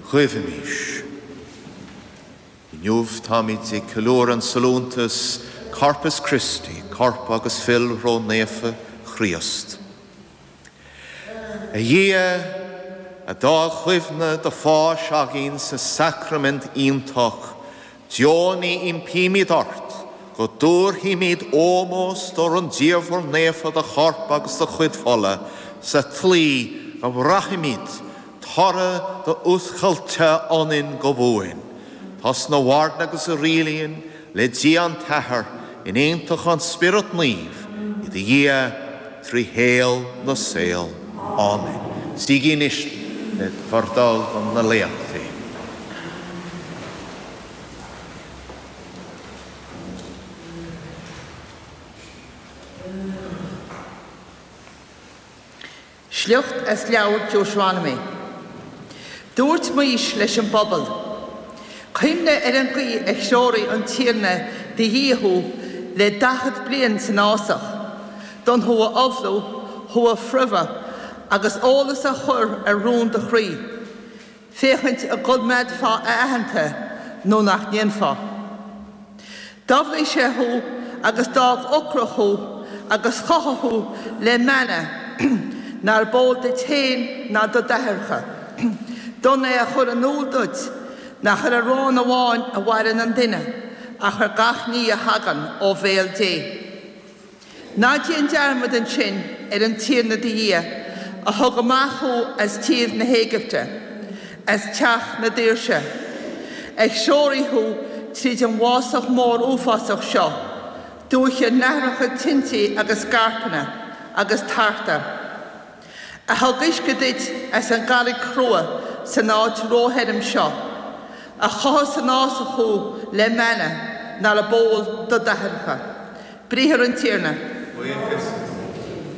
Guímís. Inniu táimid ag ceiliúradh an sollúntas Corpus Christi, Corp agus Fuil Ró-Naofa Chríost. A Dhia, a d'fhág cuimhne do pháis againn sa sacraimint iontach, deonaigh, impímid ort, go dtabharfaimid ómós do rúndiamhair naofa do Choirp agus do chuid Fola, sa tslí go mbraithfimid toradh d'fhuascailte ionainn go buan. Tusa a mhaireann agus a rialaíonn le Dia an tAthair in aontacht an Spioraid Naoimh, i do Dhia trí shaol na saol. Áiméan. Suígí anois le bhur dtoil do na léachtaí. Sliocht as Leabhar Deuteronomy. Dúirt Maois leis an bpobal, Cuimhnigh ar an gcaoi a threoraigh an Tiarna do Dhia thú le 40 bliain san fhásach, d'fhonn thú a umhlú, thú a phromhadh, agus eolas a chur ar rún do chroí. féachaint an gcoimeádfá a aitheanta nó nach ndéanfá. D'umhlaigh sé thú agus d'fhág ocrach thú agus chothaigh thú le manna nár b'eol duit féin ná do d'aithreacha, d'fhonn é a chur in iúl duit nach ar arán amháin a mhaireann an duine ach ar gach ní a thagann ó bhéal Dé. Ná déan dearmad ansin ar an Tiarna do Dhia a thug amach thú as tír na hÉigipte, as teach na daoirse, a threoraigh thú tríd an bhfásach mór uafásach seo, dúiche nathracha tinte agus scairpeanna agus tarta. a thug uisce duit as an gcarraig chrua san áit róthirim seo, a chothaigh san fhásach thú le manna nár b'eol do d'aithreacha. Briathar an Tiarna. Buíochas.